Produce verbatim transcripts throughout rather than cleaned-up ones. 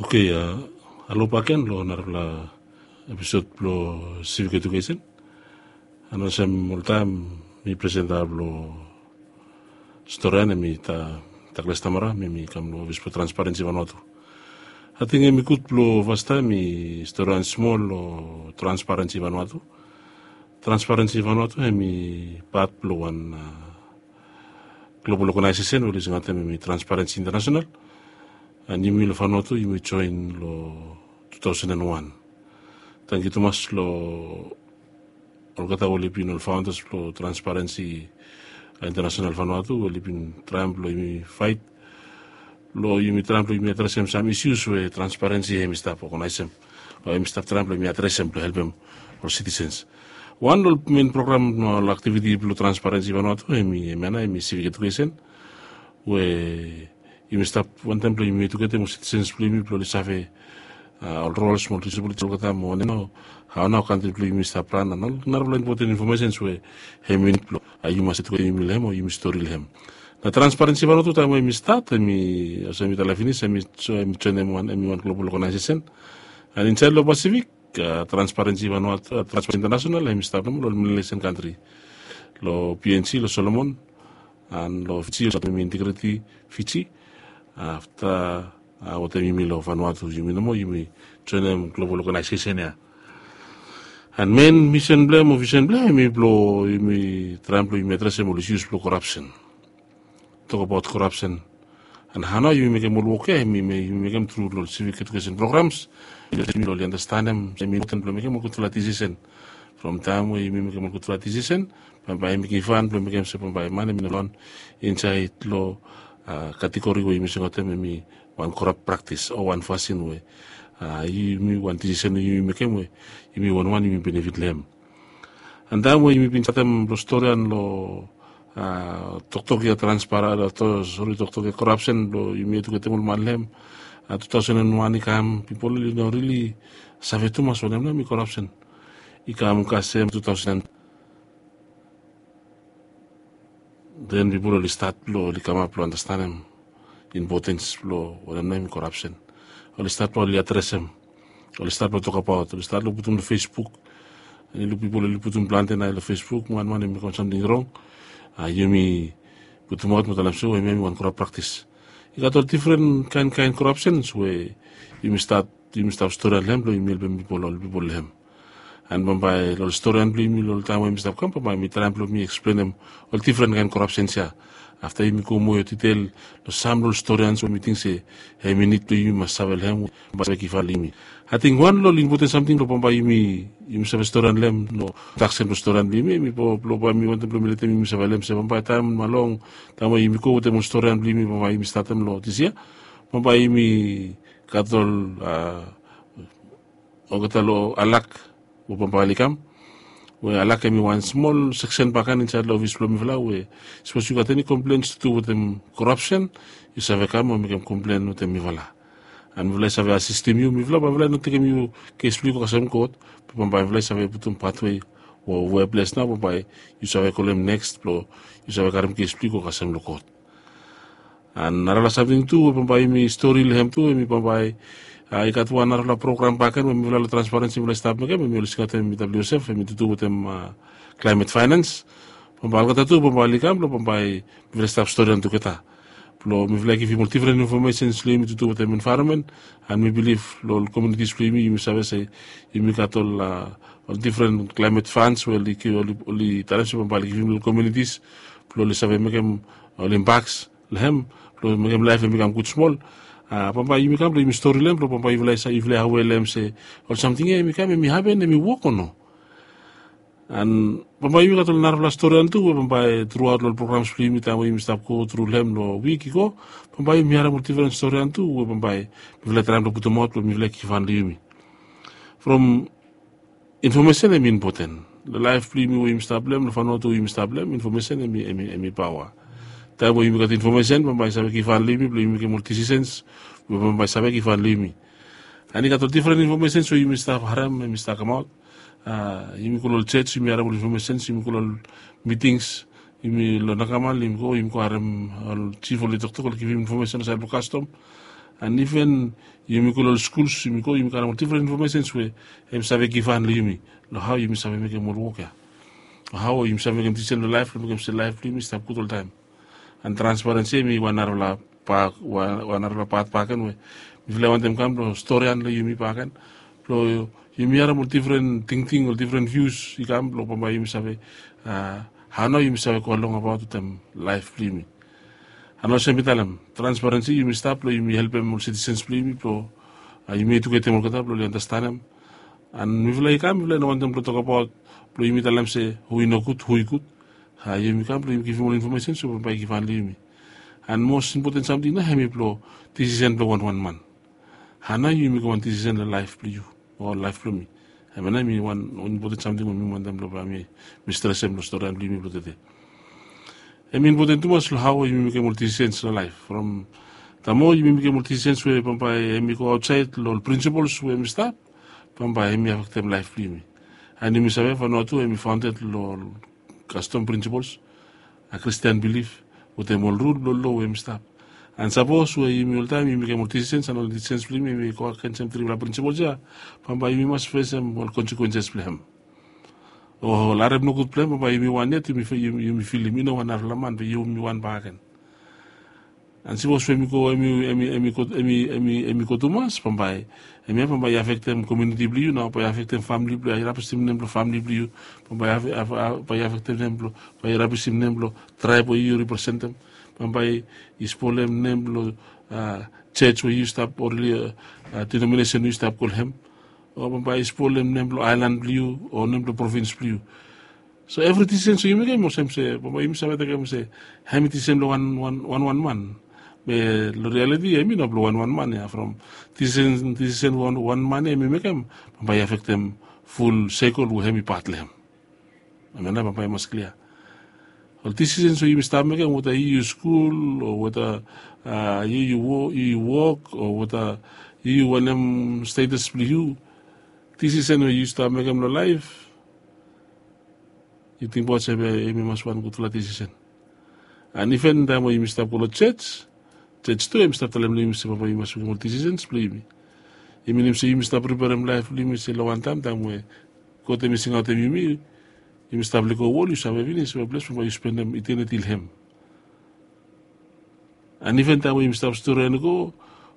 Oke, a, alo baken lo narafala episod blo Civic Education. An olsem oltaem, mi presenta blo storian, hemi Douglas Tamara, mi mi kam lo ofis blo Transparency Vanuatu. Ating hemi gud blo fastaem mi storian smol lo Transparency Vanuatu. Transparency Vanuatu hemi pat blo wan, a, global organization we oli singaotem hemi Transparency International. An yumi lo Vanuatu yumi joen lo two thousand and one. Tangkiu tumas lo olgeta we oli bin ol founders blo Transparency International Vanuatu, oli bin traem blo yumi faet, blo yumi traem blo yumi adresem sam issues we Transparency hemi stap organizem, o hemi stap traem blo yumi adresem blo helpem ol citizens. Wan lo ol main program, ol activity blo Transparency Vanuatu hemi, hemia nao hemi civic education, we yumi stap wantaem blo yumi educatem ol citizens blo yumi blo oli save, a, ol roles mo ol responsibilities olgeta mo wanem nao, hao nao kantri blo yumi stap ran, an ol narafala impoten infomesens we hemi nid blo, a, yumi mas educatem yumi lo hem o yumi stori lo hem. Nao Transparency Vanuatu taem we hemi stat, hemi, olsem mi talem finis, hemi, so hemi joenem wan, hemi wan global organization. An insaed lo Pacific, a, Transparency Vanuatu, a, Transparency International hemi stap nomo lo ol Melanesian kantri, lo P N G, lo Solomon, an lo Fiji, lo Integrity Fiji. Afta, a, wetem yumi lo Vanuatu, yumi nomo yumi joenem global organization ya. An main mission blo hem o vision blo hem hemi blo yumi traem blo yumi adresem ol issues blo corruption. Tokbaot corruption. An hao nao yumi mekem ol wok ya, yumi, yumi mekem tru lo ol civic education programs. Yumi oli andastanem, hemi impoten blo mekem ol gudfala decision. From taem we yumi mekem ol gudfala decision, bambae yumi givhan blo mekem se bambae man hemi no long insaed lo, a, category we yumi singaotem hemi wan corrupt practice o wan fasin we, a, yumi wan decision we yumi mekem we yumi wanwan yumi benefit lo hem. An taem we yumi bin statem lo storian lo, a, toktok ya transparency, a, to, sori, toktok ya corruption blo yumi educatem ol man lo hem, a, two thousand and one i kam, pipol oli no rili save tumas wanem nao hemi corruption. I kam kasem two thousand, den pipol oli stat blo oli kamap blo andastanem impotens blo wanem nao hemi corruption. Oli stat blo oli adresem, oli stat blo tokbaot, oli stat lo putum lo Facebook. Yu luk pipol oli putum plante nao lo Facebook, wan man hemi mekem samting rong, a, yumi putumaot mo talem se, o, hemia hemi wan corrupt practice. I gat ol difren kaen kaen corruptions we yumi stat, yumi stap storian lo hem blo yumi helpem pipol, ol pipol lo hem. An bambae lo ol storian blo yumi lo ol taem we yumi stap kam, bambae mi traem blo mi eksplenem ol difren kaen corruptions ya. Afta yumi go moa detail lo sam lo ol storians we mi ting se hemi nid blo yumi mas save lo hem, bambae save givhan lo yumi. Ating wan lo ol impoten samting blo bambae yumi, yumi save storian lo hem, lo introduction blo storian blo yumi, hemi blo, blo bae mi wantem blo mi letem yumi save lo hem se bambae taem long, taem we yumi go wetem ol storian blo yumi, bambae yumi statem lo dis yia, bambae yumi gat ol, a, olgeta lo alak we bambae oli kam. We alak hemi wan smol seksen baken insaed lo ofis blo mifala we sapos yu gat eni complaints tu wetem corruption, yu save kam o mekem complain wetem mifala. An mifala i save asistem yu, mifala, bambae mifala i no tekem yu kes blo yu go kasem kot, be bambae mifala i save putum pathway o weples nao bambae yu save kolem next blo yu save karem kes blo yu go kasem lo kot. An narafala samting tu we bambae yumi stori lo hem tu, hemi bambae, a, i gat wan narafala program baken we mifala lo Transparency mifala i stap mekem, hemi oli singaotem hemi W S F, hemi tutu wetem, a, climate finance. Bambae olgeta tu bambae oli kam blo bambae mifala i stap storian tugeta. Blo mifala i givim ol difren infomesens lo yumi tutu wetem environment. An mi bilif lo ol communities blo yumi, yumi save se yumi gat ol, a, ol difren climate funds we oli, oli, oli talem se bambae oli givim lo ol communities blo oli save mekem ol impacts lo hem, blo mekem laef hemi kam gud smol. A, bambae yumi kam blo yumi stori lo hem, blo bambae yufala i sa, yufala i aware lo hem se ol samting ya hemi kam, hemi hapen, hemi wok o no. An bambae yumi gat ol narafala storian tu we bambae truaot lo ol programs blo yumi taem we yumi stap go tru lo hem lo wik i go, bambae yumi harem ol difren storian tu we bambae mifala i traem blo putumaot blo mifala i givhan lo yumi. From infomesen hemi impoten. Lo laef blo yumi we yumi stap lo hem, lo Vanuatu we yumi stap lo hem, infomesen hemi, hemi, hemi paoa. Taem we yumi gat infomesen, bambae i save givhan lo yumi blo yumi mekem ol decisions we bambae i save givhan lo yumi. An i gat ol difren infomesens we yumi stap harem, hemi stap kamaot. A, yumi go lo ol jos, yumi harem ol infomesens, yumi go lo ol mitings, yumi lo Nakamal, yumi go, yumi go harem ol jif oli toktok, oli givim infomesen lo saed blo kastom. An iven yumi go long ol skuls, yumi go, yumi karem ol difren infomesens we hem save givhan long yumi long hao yumi save mekem ol wok ya, o hao yumi save mekem disisen long laef blong mekem se laef blong yumi stap gud oltaem. An transparensi hem i wan narafala pat, wan narafala pat bakegen we mifala i wantem kam blong storian long yumi bakegen blong yumi harem ol difren tingting, ol difren vius i kam blong bambae yumi save, a, hao nao yumi save go long abaot wetem laef blong yumi. An olsem mi talem, transparensi yumi stap blong yumi helpem ol sitisens blong yumi blong, a, yumi ejuketem olgeta blong oli anastenem. An mifala i kam, mifala i no wantem blong tokabaot blong yumi talem se hu i nogud, hu i gud. A, yumi kam blong yumi givim ol infomesen so bambae i givhan long yumi. An mos impoten samting nao hem i blong disisen blong wanwan man. Hao nao yu mekem wan disisen long laef blong yu o laef blong mi? Hem ya nao hem i wan impoten samting we mi wantem blong bae mi stresem long storian blong yumi blong tede. Hem i impoten tumas long hao yumi mekem ol disisens long laef. From taem we yumi mekem ol disisens we bambae hem i go aotsaed long ol prinsipols we hem i stap, bambae hem i afektem laef blong yumi. An yumi save Vanuatu hem i faonded long ol kastom prinsipols, a, Kristian bilif wetem ol rul blong lo we hem i stap. An sapos we yumi oltaem yumi mekem ol disisens an ol disisens blong yumi hem i go agensem trifala prinsipols ya, bambae yumi mas fesem ol konsekuenses blong hem. O ol harem nogud blong hem, bambae yumi wan yet yumi filim i no wan narafala man be yumi wan bakegen. An sipos we hem i go, hem i, hem i, hem i go, hem i, hem i, hem i go tumas, bambae hem ya bambae i afektem komuniti blong yu nao, bae i afektem famili blong yu, i rapisim nem blong famili blong yu, bambae i afe-, afe-, a-, bae i afektem nem blong, bae i rapisim nem blong traeb we yu representem, bambae i spolem nem blong, a, jos we yu stap o rili, a, denominesen we yu stap go long hem, o bambae i spolem nem blong aelan blong yu o nem blong provins blong yu. So evri disisen we yu mekem olsem se bambae yumi save tekem se hem i disisen blong wan, wan, wan, wan man. Be long rialiti hem i no blong wan, wan man ya. From disisen, disisen wan, wan man ya hem i mekem, bambae i afektem ful sekol we hem i pat long hem. Hem ya nao bambae i mas klia. Ol disisen we yumi stap mekem, weta yu yu skul o weta, a, yu yu wo-, yu yu wok o weta yu yu wanem stetas blong yu, disisen we yu stap mekem long laef, yu tingbaot se bae hem i mas wan gudfala disisen. An iven taem we yumi stap go long jos, jos tu hem i stap talem long yumi se bambae yumi mas mekem ol disisens blong yumi. I minim se yumi stap priperem laef blong yumi se long wan taem, taem we God hem i singaotem yumi, yumi stap lego wol, yu save finis we ples bambae yu spendem itiniti long hem. An iven taem we yumi stap storian i go,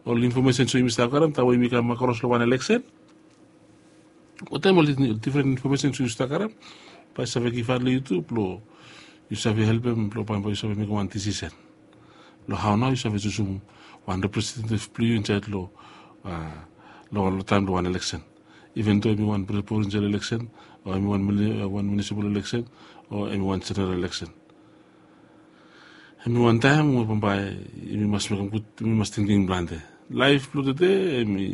ol infomesen we yumi stap karem taem we yumi kam akros long wan eleksen, wetem ol difren infomesen we yu stap karem, bae i save givhan long yu tu blong yu save helpem blong bambae yu save mekem wan disisen long hao nao yu save jusum wan representetiv blong yu insaed long, a, long, long taem blong wan eleksen. Iven do hem i wan provinsial eleksen o hem i wan mini-, wan minisipal eleksen o hem i wan jeneral eleksen, hem i wan taem we bambae yumi mas mekem gud, yumi mas tingting plante. Laef blong tede hem i,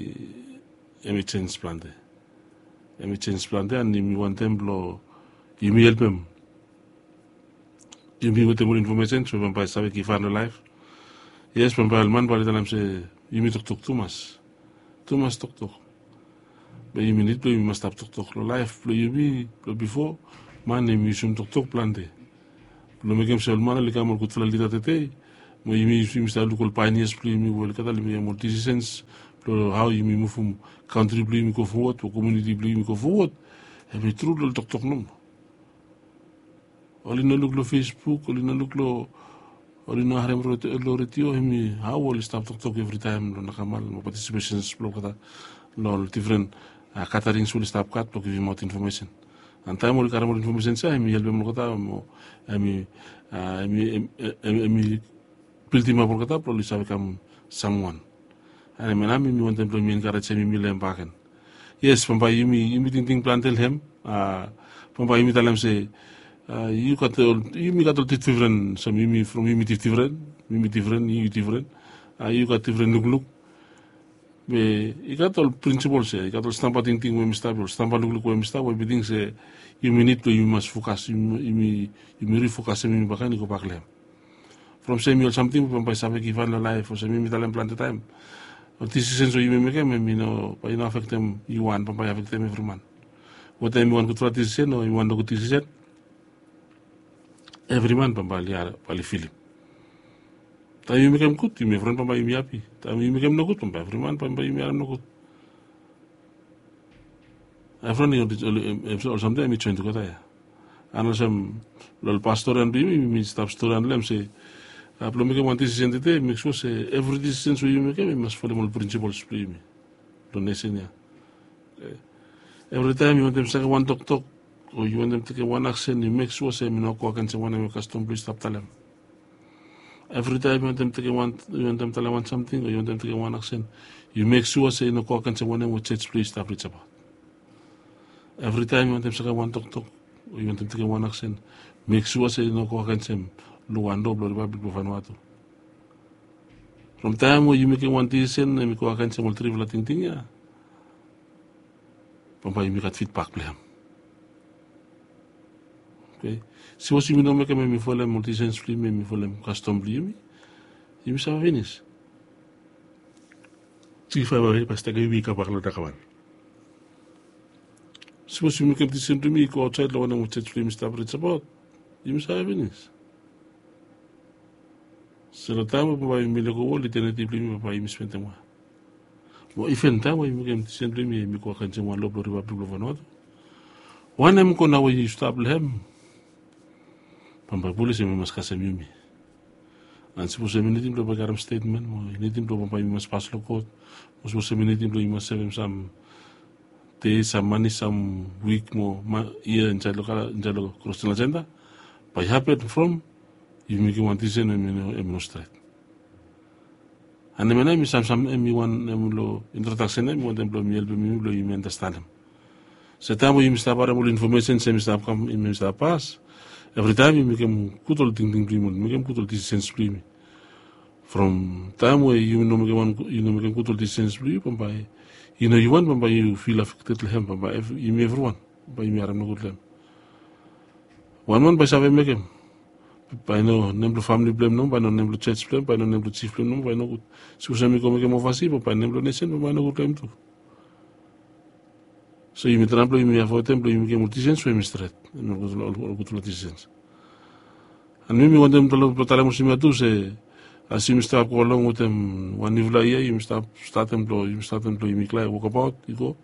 hem i jenis plante. Hem i jenis plante an yumi wantem blong yumi helpem yumi wetem ol infomesen so bambae i save givhan long laef. Yes, bambae ol man bae oli talem se yumi toktok tumas. Tumas toktok. Be yumi nid blong yumi mas stap toktok long laef blong yumi blong bifo. Man hem i yusum toktok plante blong mekem se ol man oli kam ol gudfala lida tede. Mo yumi, yumi stap luk ol paenias blong yumi we olgeta oli mekem ol disisens blong hao yumi muvum kantri blong yumi go fowod o komuniti blong yumi go fowod. Hem i tru long ol toktok nomo. Oli no luk long Facebook, oli no luk long, oli no harem long redio, hem i hao oli stap toktok evritaem long nakamal mo patisipesens blong olgeta long ol difren, a, gaterings we oli stap gat blong givimaot infomesen. An taem oli karem ol infomesens ya hem i helpem olgeta mo hem i, a, hem i, hem, hem, hem i bildimap olgeta blong oli save kam samwan. An hemia nao mi wantem blong mi enkarejem yumi long hem bakegen. Yes, bambae yumi, yumi tingting plante long hem. A, bambae yumi talem se, a, yu gat ol, yumi gat ol difdifren, sam yumi from yumi difdifren, yumi difren, yu difren. A, yu gat difren lukluk. Be i gat ol prinsipols ya, i gat ol stamba tingting we hem i stap, ol stamba lukluk we hem i stap we mi ting se yumi nid blong yumi mas fokas, yumi, yumi, yumi rifokasem yumi bakegen i gobak long hem. From se hem i ol samting we bambae i save givhan long laef, olsem yumi talem plante taem. Ol disisens we yumi mekem hem i no, bae i no afektem yu wan, bambae i afektem evri man. Weta hem i wan gudfala disisen o hem i wan nogud disisen, evri man bambae oli, bae oli filim. Taem yu mekem gud, yumi evriwan bambae yumi hapi. Taem yu mekem nogud, bambae evriman bambae yumi harem nogud. Evriwan i ol samtaem i joen tugeta ya. An olsem long ol pastor ya blong yumi, yumi stap stori long hem se blong mekem wan disisen tede, mek sua se evri disisen we yumi mekem i mas folem ol prinsipols blong yumi long nesen ya. Evritaem yu wantem sakem wan toktok o yu wantem tekem wan aksen, yu mek sua se hem i no go agensem wanem we kastom blong yu stap talem. Evritaem yu wantem tekem wan, yu wantem talem wan samting o yu wantem tekem wan aksen, yu mek sua se i no go agensem wanem we jos blong yu stap risabaot. Evritaem yu wantem sakem wan toktok o yu wantem tekem wan aksen, mek sua se i no go agensem long wan loa blong Ripablik blong Vanuatu. From taem we yu mekem wan disisen hem i go agensem ol trifala tingting ya, bambae yumi gat fidbak blong hem. Oke. Sipos yumi no mekem hem i folem ol disens blong yumi, hem i folem kastom blong yumi, yumi save finis. Jifae bambae i mas taem yumi i kambak long nakawan. Sipos yumi mekem disisen blong yumi i go aotsaed long wanem we jos blong yumi stap risabaot, yumi save finis. So long taem we bambae yumi lego wol, itiniti blong yumi bambae yumi spendem we Mo iven taem we yumi mekem disisen blong yumi hem i go agensem wan loa blong Ripablik blong Vanuatu, wanem go nao we yu stap long hem? Bambae polis hem i mas kasem yumi. An sipos hem i nidim blong bambae i karem stetmen mo i nidim blong bambae yumi mas pas long kot, mo sipos hem i nidim blong yumi mas sevem sam dei, sam mani, sam wik mo yia insaed long kala, insaed long Cross General Centre, bae i hapen from yumi mekem wan disisen we hem i no stret. An hemia nao hem i samsam, hem i wan, hem long introdaksen ya hem i wantem blong hem i helpem yumi blong yumi andastanem se taem we yumi stap harem ol infomesen se hem i stap kam, hem i stap pas, evritaem yumi mekem gud ol tingting blong yumi, mekem gud ol disisens blong yumi. From taem we yumi no mekem wan, yu no mekem gud ol disisens blong yu, bambae yu no yu wan, bambae yu fil afekted long hem, bambae yumi evriwan bambae yumi harem nogud long hem. Wan man bae i save mekem, bae i no nem blong famili blong hem nomo, bae i no nem blong jos blong hem, bae i no nem blong jif blong hem nomo, bae i nogud. Sipos hem i go mekem ovasi, bae nem blong nesen bambae i nogud long hem tu. So yumi traem blong yumi avoedem blong yumi mekem ol disisens we hem i stret, hem i ol gudfala disisens. An mi mi wantem blong talem olsem ya tu se as yumi stap go along wetem wan niufala yia, yumi stap statem blong, yumi statem blong yumi klia wokabaot i go.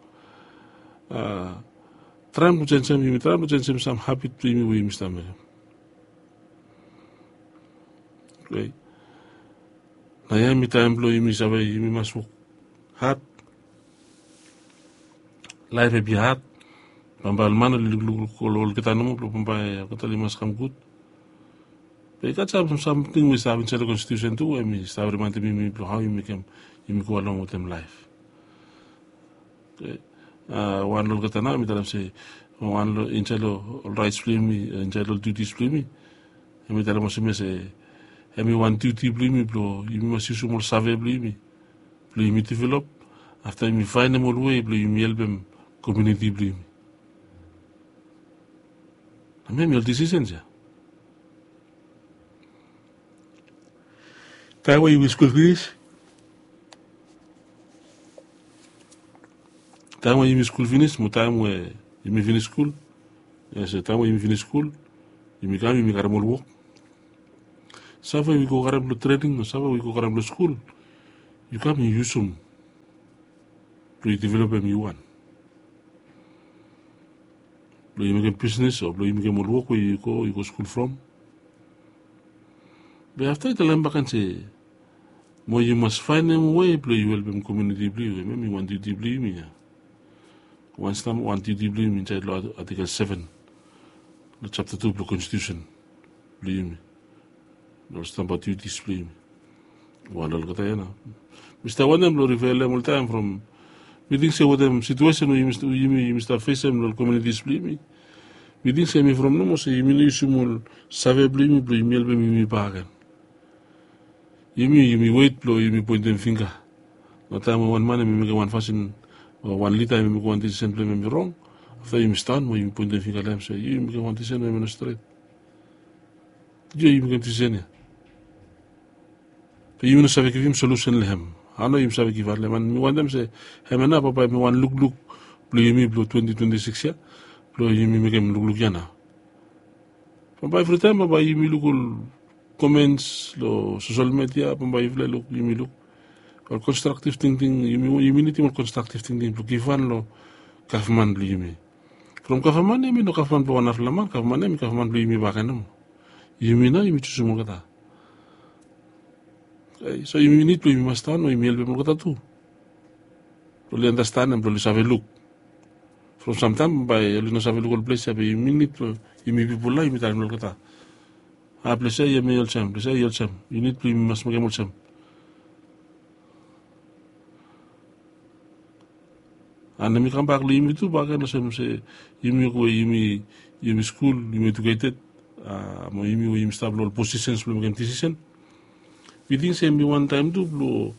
Traem blong jenisim, yumi traem blong jenisim sam habit blong yumi we yumi stap mekem. Oke. Nao ya hemi taem blong yumi save yumi mas wok had. Laef hemi had. Bambae ol man oli lukluk long olgeta nomo blong bambae olgeta oli mas kam gud. Be i gat sam samting we i stap insaed long konstitusen tu we hemi stap rimaendem yumi blong hao yumi mekem yumi go along wetem laef. Oke. Wan long olgeta nao mi talem se wan long insaed long ol raets blong yumi, insaed long ol diutis blong yumi, hemi talem olsem ya se hemi wan diuti blong yumi blong yumi mas yusum ol save blong yumi blong yumi develop. Afta yumi faenem ol wei blong yumi helpem komuniti blong yumi. Hemi ol disisens ya. Taem we yumi skul finis, taem we yumi skul finis mo taem we yumi finis skul, yes, taem we yumi finis skul yumi kam yumi karem ol wok. Save we yu go karem long trening o save we yu go karem long skul, yu kam yu yusum blong yu developem yu wan, blong yu mekem bisnis o blong yu mekem ol wok we yu go yu go skul from. Be afta i talem bak gen se mo yu mas faenem wei blong yu helpem komuniti blong yu, hemia hemi wan diuti blong yumi ya. Wan stamba wan diuti blong yumi insaed long atikel seven long japta tu blong konstitusen blong yumi. Long stamba diutis blong yumi. Wan long olgeta ya nao mi stap wantem blong rifelem oltaem from mi ting se wetem situesen we yumi yumi stap fesem long ol kominitis blong yumi, mi ting se hemi from nomo se yumi no yusum ol save blong yumi blong yumi helpem yumi bakegen. Yumi yumi wet blong yumi poentem fingga. Long taem we wan man hemi mekem wan fasin o wan lida hemi mekem wan disisen blong hem hemi rong, afta yumi stan mo yumi poentem fingga long hem se yu yumi mekem wan disisen we hemi no stret. Yu yumi mekem disisen ya. Be yumi no save givim solusen long hem. Hao nao yumi save givhan long hem? An mi wantem se hemia nao bambae hemi wan lukluk blong yumi blong twenti twenti sikis ya, blong yumi mekem lukluk ya nao. Bambae evritaem bambae yumi luk ol komens long sosel media, bambae yufala i luk, yumi luk ol konstraktiv tingting. Yumi nidim ol konstraktiv tingting blong givhan long gavman blong yumi. From gavman ya i no gavman blong wan narafala man. Gavman ya i gavman blong yumi bakegen nomo. Yumi nao yumi jusum olgeta. So yumi nid blong yumi mas tan o yumi helpem olgeta tu blong oli anastenem, blong oli save luk. From samtaem bae oli no save luk ol ples ya, be yumi nid blong yumi pipol nao yumi talem long olgeta, a ples ya i hemi olsem, ples ya i olsem. Yu nid blong yumi mas mekem olsem. An hemi kambak long yumi tu bakegen olsem se yumi we yumi, yumi skul, yumi ejuketed, a mo yumi we yumi stap long ol posisens blong mekem disisen, mi ting se hemi wantaem tu blong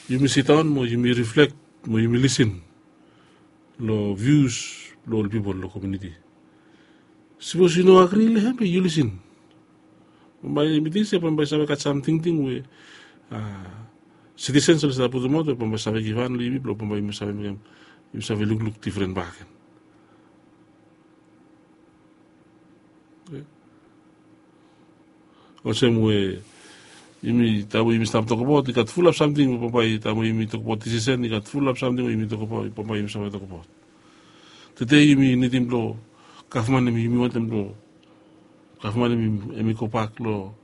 yumi sidaon mo yumi riflek mo yumi lisin long vius blong ol pipol long komuniti. Sipos yu no agri long hem be yu lisin. Bambae mi ting se bambae i save gat sam tingting we sitisens oli save putumaot we bambae i save givhan long yumi blong bambae yumi save mekem, yumi save lukluk difren bakegen. Olsem we yumi, taem we yumi stap tokbaot, i gat fulap samting we bambae taem we yumi tokbaot disisen, i gat fulap samting we yumi tokbaot, bambae yumi save tokbaot. Tede yumi nidim blong gavman, hemi yumi wantem blong gavman hemi gobak long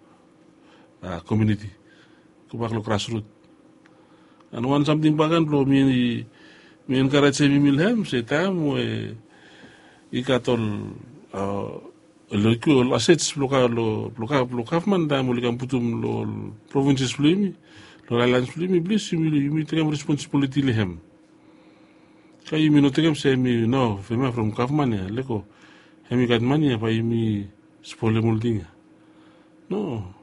komuniti, gobak long grasrut. An wan samting bakegen blong mi enkarejem yumi long hem se taem we i gat ol, ol asets blong gavman, taem oli kam putum long ol provinses blong yumi, long ol aelans blong yumi, plis yumi tekem responsibiliti long hem. Ka yumi no tekem se hemi no, hemia from gavman ya, lego, hemi gat mane ya bae yumi spolem ol ting ya. No.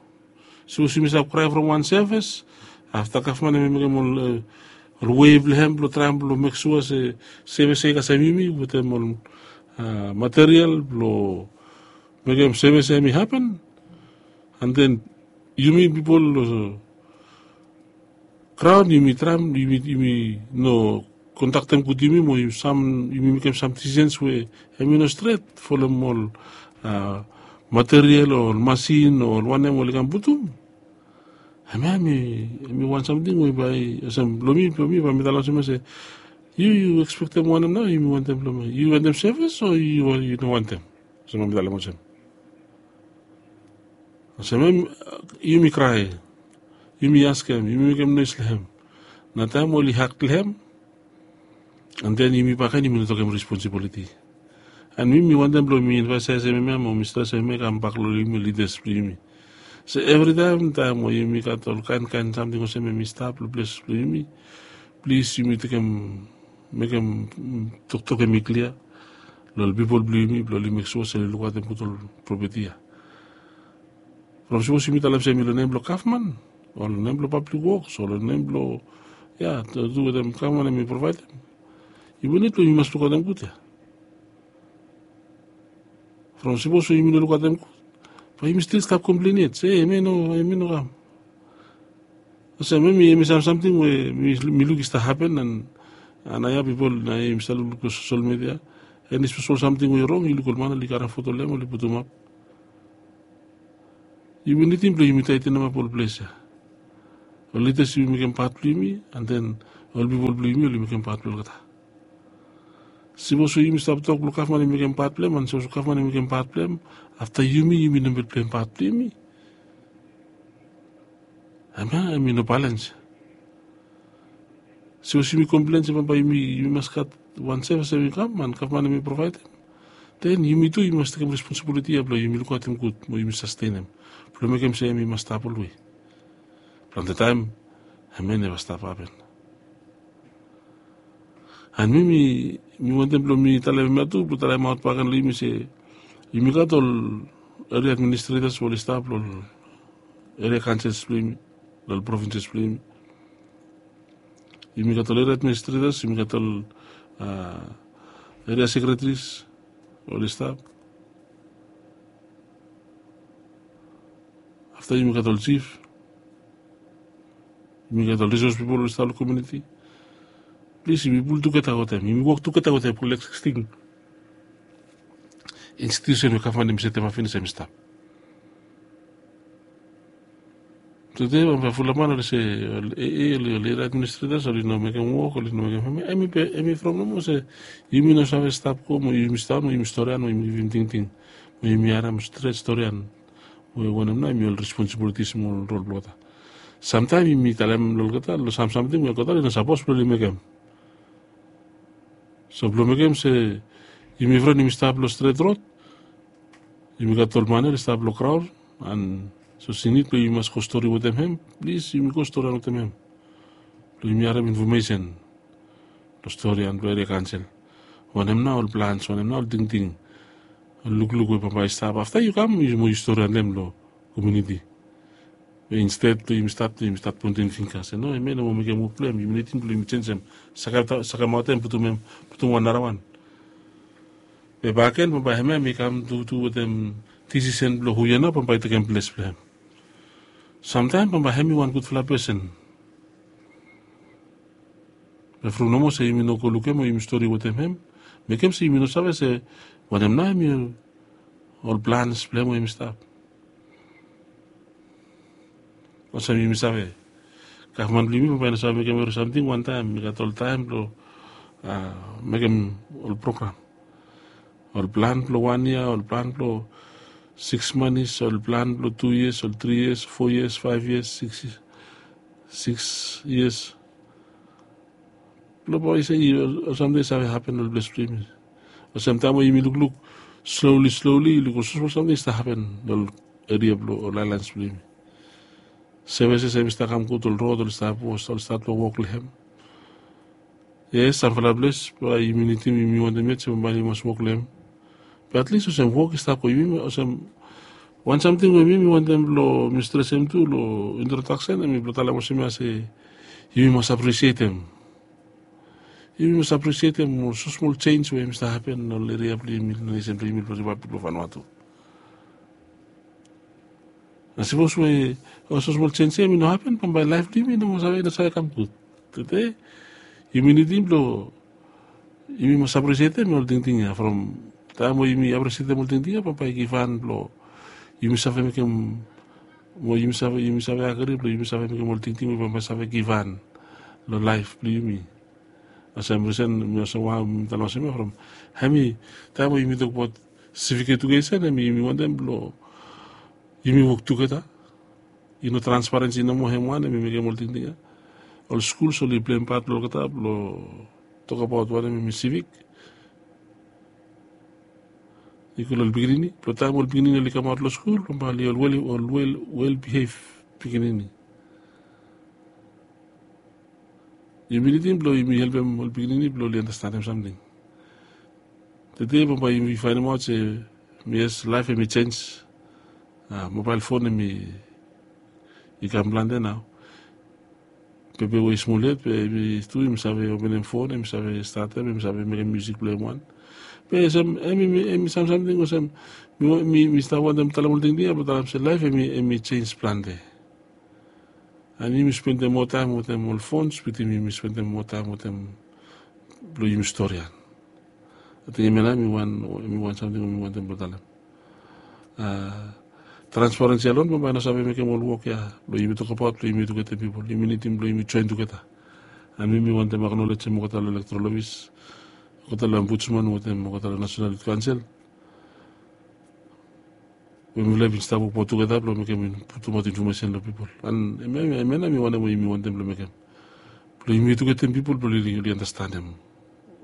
Sipos yumi stap krae from wan sevis, afta gavman hemi mekem ol wei blong hem blong traem blong mek sua se sevis ya i kasem yumi wetem ol material blong mekem sevis ya hemi hapen. An den yumi pipol long graon yumi traem, yumi no kontaktem gud yumi mo yumi mekem sam disisens we hemi no stret folem ol material o ol masin o ol wanem oli kam putum. Hemia hemi wan samting we bae olsem blong mi, blong mi bae mi talem olsem ya se yu, yu ekspektem wanem nao yumi wantem blong mi? Yu wantem sevis o yu no wantem? Olsem bae mi talem olsem. Olsem yumi krae, yumi askem, yumi mekem noes long hem. Na taem oli hak long hem, an den yumi bakegen yumi no tokem responsibiliti. An mi, mi wantem blong mi emfasaesem hemia mo mi stresem hemia kambak long yumi lidas blong yumi. So evritaem, taem we yumi gat ol kaenkaen samting olsem hemi stap long ples blong yumi, plis yumi tekem, mekem toktok hemi klia long ol pipol blong yumi blong oli mek sua se oli lukaotem gud ol propeti ya. From sipos yumi talem se hemi long nem blong gavman o long nem blong pablik woks o long nem blong, ya, tu wetem gavman hemi provaedem, yumi nid blong yumi mas lukaotem gud ya. From sipos we yumi no lukaotem gud, bae yumi stil stap komplen yet se hemi no, hemi no kam. Olsem hemi, hemi sam samting we mi luk i stap hapen, an naoia pipol naoia yumi stap lukluk long sosel media, eni spesful samting we i rong yu luk ol man oli karem foto long hem oli putumap. Yumi nidim blong yumi taetenemap ol ples ya. Ol lidas yumi mekem pat blong yumi, an den ol pipol blong yumi oli mekem pat blong olgeta. Sipos we yumi stap tok blong gavman i mekem pat blong hem, an sipos gavman i mekem pat blong hem, afta yumi, yumi no mekem pat blong yumi. Hemia hemi no balens. Sipos yumi komplen se bambae yumi, yumi mas gat wan sevis hemi kam an gavman hemi provaedem, den yumi tu yumi mas tekem responsibiliti ya blong yumi lukaotem gud mo yumi sastenem blong mekem se hemi mas stap olwe. Plante taem hemia i neva stap hapen. An mi, mi wantem blong mi talem hemia tu blong talemaot bakegen long yumi se yumi gat ol eria administretas we oli stap long ol eria kaonsils blong yumi, long ol provinses blong yumi. Yumi gat ol eria administretas, yumi gat ol eria sekretaris we oli stap. Afta yumi gat ol jif, yumi gat ol risos pipol we oli stap long komuniti. Plis yumi pul tugeta wetem, yumi wok tugeta wetem blong ekzisting institusen we gavman hemi setemap finis hemi stap. Tede bambae fulap man oli se ol area administretors oli no mekem wok, oli no mekem hem. Hem i from nomo se yumi no save stap go mo yumi stap mo yumi storian mo yumi givim tingting mo yumi harem stret storian we wanem nao hem i ol responsibilitis mo ol rol blong olgeta. Samtaem yumi talem long olgeta long sam samting we olgeta oli no sapos blong oli mekem. So blong mekem se yumi fren yumi stap long stret rod, yumi gat ol mane oli stap long graon, an sapos i nid blong yumi mas go stori wetem hem, plis yumi go storian wetem hem blong yumi harem infomesen long storian blong eria kaonsel. Wanem nao ol plans, wanem nao ol tingting, ol lukluk we bambae i stap afta yu kam mo yu storian long komuniti. Be insted blong yumi stat blong yumi stat pointing fingga se no, hem ya i no moa mekem wok blong hem. Yumi nidim blong yumi jenisim, sakemaot hem, putum hem, putum wan narawan. Be bakegen bambae hem ya hem i kam tu tu wetem disisen blong hu ya nao bambae i tekem ples blong hem. Samtaem bambae hem i wan gudfala pesen. Be from nomo se yumi no go lukim o yumi stori wetem hem, mekem se yumi no save se wanem nao hem i ol plans blong hem we hem i stap. Olsem yumi save, gavman blong yumi bambae i no save mekem evri samting wantaem. I gat ol taem blong mekem ol program. Ol plan blong wan yia, ol plan blong siks manis, ol plan blong tu yias, ol tri yias, fo yias, faef yias, siks yias. Blong bambae i se ol samting i save hapen long ples blong yumi. Olsem taem we yumi lukluk sloli sloli yu luk ol smosmol samting i stap hapen long ol eria blong ol aelans blong yumi. Sevises hem i stap kam gud, ol rod oli stap wos, oli stat blong wok long hem. Yes, samfala ples bae yumi nidim, yumi wantem yet se bambae yumi mas wok long hem. Be atlis olsem wok i stap go, yumi olsem wan samting we mi mi wantem blong mi stresem tu long introdaksen hem i blong talem olsem ya se yumi mas apresietem. Yumi mas apresietem ol smosmol jenj we hem i stap hapen long ol eria blong yumi, long nesen blong yumi, blong ripablik blong Vanuatu. Na sapos we ol smosmol jenj ya hem i no hapen bambae laef blong yumi i no moa save, i no save kam gud. Tede yumi nidim blong yumi mas apresietem ol tingting ya. From taem we yumi apresietem ol tingting ya bambae i givhan blong yumi save mekem, mo yumi save, yumi save agri blong yumi save mekem ol tingting we bambae i save givhan long laef blong yumi. Olsem risen mi olsem wao mi talem olsem ya from hem i taem we yumi tokbaot sivik edukesen hem i yumi wantem blong yumi wok tugeta. I no transparensi nomo hem wan hem i mekem ol tingting ya. Ol skuls oli pleim pat blong olgeta blong tokabaot wanem hem i sivik. I go long ol pikinini blong taem ol pikinini oli kamaot long skul bambae oli ol wel, ol wel, wel bihev pikinini. Yumi nidim blong yumi helpem ol pikinini blong oli anastenem samting. Tede bambae yumi faenemaot se yes, laef hem i jenj. Mobael fon hem i kam plante nao. Pepe we i smol yet be hem i tu hem i save openem fon, hem i save statem, hem i save mekem miusik blong hem wan. Be olsem hem i, hem i sam samting olsem mi, mi stap wantem talem ol tingting ya blong talem se laef hem i, hem i jenj plante. An yumi spendem moa taem wetem ol fons wetem yumi spendem moa taem wetem blong yumi storian. Ating hem ya nao hem i wan, hem i wan samting we mi wantem blong talem. Transparensi alon bambae i no save mekem ol wok ya blong yumi tokbaot blong yumi ejuketem pipol. Yumi nidim blong yumi joen tugeta. An mi mi wantem aknolejem olgeta long elektoral ofis, olgeta long ombudsman wetem olgeta long nasenal yut kaonsel we mifala i bin stap wokbaot tugeta blong mekem, putumaot infomesen long pipol. An hemia nao mi wanem we yumi wantem blong mekem blong yumi ejuketem pipol blong oli anastenem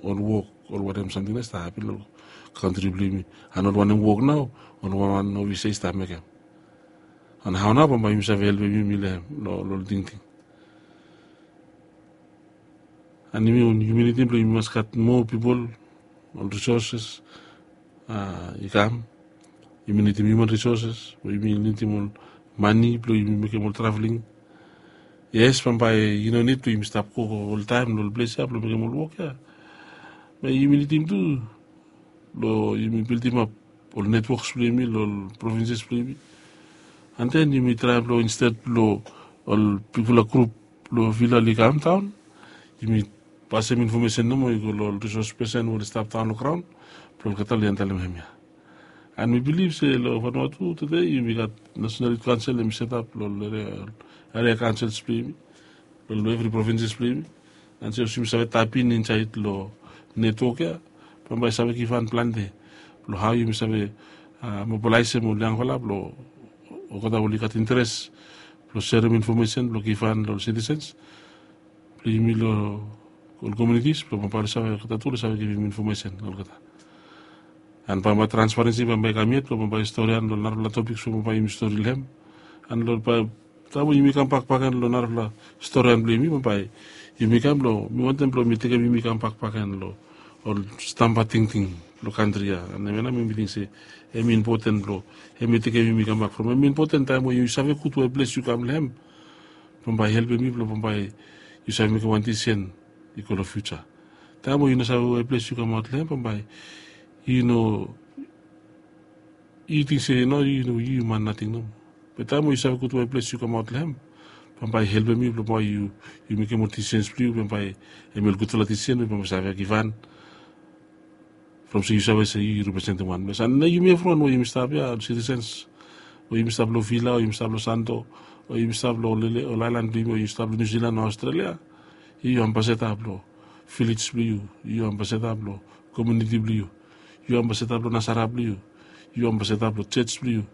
ol wok, ol wanem samting nao i stap hapen long kantri blong yumi, an ol wanem wok nao ol wanwan ofisa i stap mekem. An hao nao bambae yumi save helpem yumi long hem, long ol tingting. An yumi, yumi nidim blong yumi mas gat moa pipol, ol risoses i kam. Yumi nidim hiuman risoses, yumi nidim ol mane blong yumi mekem ol traveling. Yes, bambae i no nid blong yumi stap go oltaem long ol ples ya blong mekem ol wok ya. Be yumi nidim tu blong yumi bildimap ol netwoks blong yumi long ol provinses blong yumi. An den yumi traem blong insted blong ol bigfala grup blong vila oli kam daon, yumi pasem infomesen nomo i go long ol risos pesen we oli stap daon long graon blong olgeta oli handolem hemia. An mi bilif se long Vanuatu tede yumi gat nasenal yut kaonsel hem i setap long ol eria, Area councils blong yumi, long evri provinces blong yumi. And se olsem yumi save tap in insaed long netwok ya, bambae save givhan plante blong hao yumi save mobilaesem ol yangfala blong olgeta oli gat interes blong serem infomesen blong givhan long ol sitisens blong yumi long ol komiunitis blong bambae oli save olgeta tu oli save givim infomesen olgeta. And bambae transparensi bambae i kam yet blong bambae storian long narafala topiks blong bambae yumi stori long hem. And long bae taem we yumi kambak bakegen long narafala storian blong yumi bambae yumi kam blong mi wantem blong mi tekem yumi kambak bakegen long ol stamba tingting blong kantri ya. And hemia nao mi ting se hem impoten blong hem i tekem yumi kambak from hem impoten taem we yu save gud we ples yu kam long hem bambae i helpem yu blong bambae yu save mekem wan disisen i go long fiuja. Taem we yu no save we ples yu kamaot long hem bambae yu no yu ting se no yu no yu man nating nomo. Be taem we yu save gud we ples yu kamaot long hem bambae i helpem yu blong bae yu mekem ol disisens blong yu bambae hem i ol gudfala disisen we bambae save givhan from se yu save se yu representim wan ples. And nao yumi evriwan we yumi stap ya ol sitisens we yumi stap long vila o yumi stap long santo o yumi stap long ol aelan blong yumi o yumi stap long niusilan o aostralia, yu ambasada blong vilej blong yu, yu ambasada blong komiuniti blong yu, yu ambasada blong nasara blong yu, yu ambasada blong jos blong yu.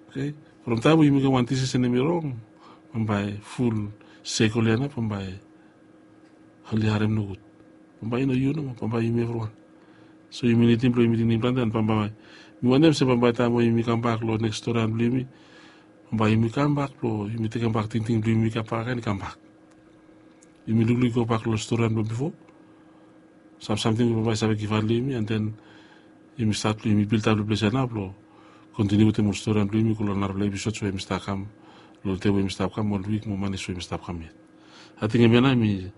Oke, from taem we yu mekem wan disisen hem i rong bambae ful sekol ya nao bambae oli harem nogud. Bambae i no yu nomo bambae yumi evriwan. So yumi nidim blong yumi tingting plante and bambae mi wantem se bambae taem we yumi kambak long neks storian blong yumi bambae yumi kambak blong yumi tekembak tingting blong yumi kambak agen i kambak. Yumi lukluk i gobak long storian blong bifo, sam samting we bambae i save givhan long yumi and den yumi stat blong yumi biltap long ples ya nao blong kontiniu wetem ol storian blong yumi go long narafala episods we yumi stap kam long ol dei we yumi stap kam ol wik mo manis we yumi stap kam yet. Ating hemia nao hem i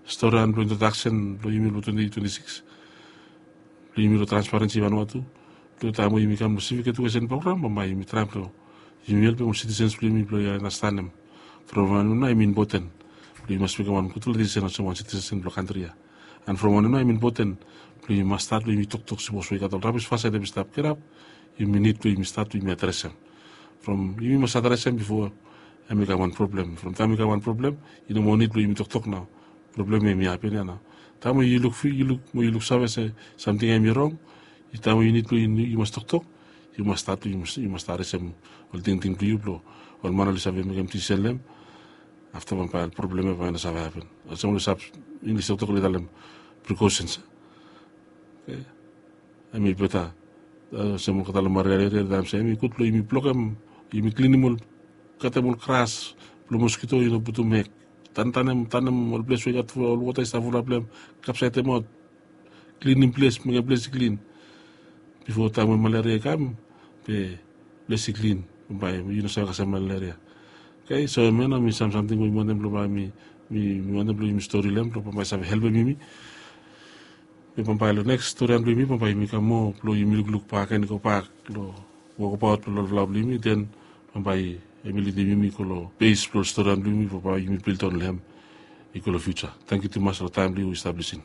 storian blong introdaksen blong yumi blong twenti twenti sikis blong yumi long transparensi vanua tu. Blong taem we yumi kam long sivik edukesen program bambae yumi traem blong yumi helpem ol sitisens blong yumi blong i anastenem from wanem nao hem i impoten blong yu mas mekem wan gudfala disisen olsem wan sitisen blong kantri ya. And from wanem nao hem i impoten blong yu mas stat blong yumi toktok sipos we i gat ol rabis fasaed hem i stap kirap, yumi nid blong yumi stat blong yumi adresem. From yumi mas adresem bifo hem i kam wan problem from taem i kam wan problem i no moa nid blong yumi toktok nao. Problem ya hem i hapen ya nao taem we yu luk fi yu luk mo yu luksave se samting ya hem i rong, taem we yu nid blong yu mas toktok, yu mas stat yu mas adresem ol tingting blong yu blong ol man oli save mekem disisen long hem. Afta bambae ol problem ya bambae i no save hapen olsem oli save inglis toktok oli talem prikosens. Hem i beta olsem olgeta long marearia taem se hem i gud blong yumi blokem yumi klinim ol katem ol gras blong moskito i no putum hek tantanem tanem ol ples we i gat ol wota i stap fulap long hem kapsaedemaot klinim ples mekem ples i klin. Bifo taem we malaria i kam be ples i klin bambae yu no save kasem malaria. Oke so hemia nao hem i sam samting we mi wantem blong bae mi mi wantem blong yumi stori long hem blong bambae i save helpem yumi. Be bambae long neks storian blong yumi bambae yumi kam moa blong yumi lukluk bak agen i gobak long wokabaot blong olfala blong yumi den bambae hem i lidim yumi go long bes blong storian blong yumi bambae yumi bilton long hem i go long fiuja. Tangkiu tumas long taem blong yu i stap lisin.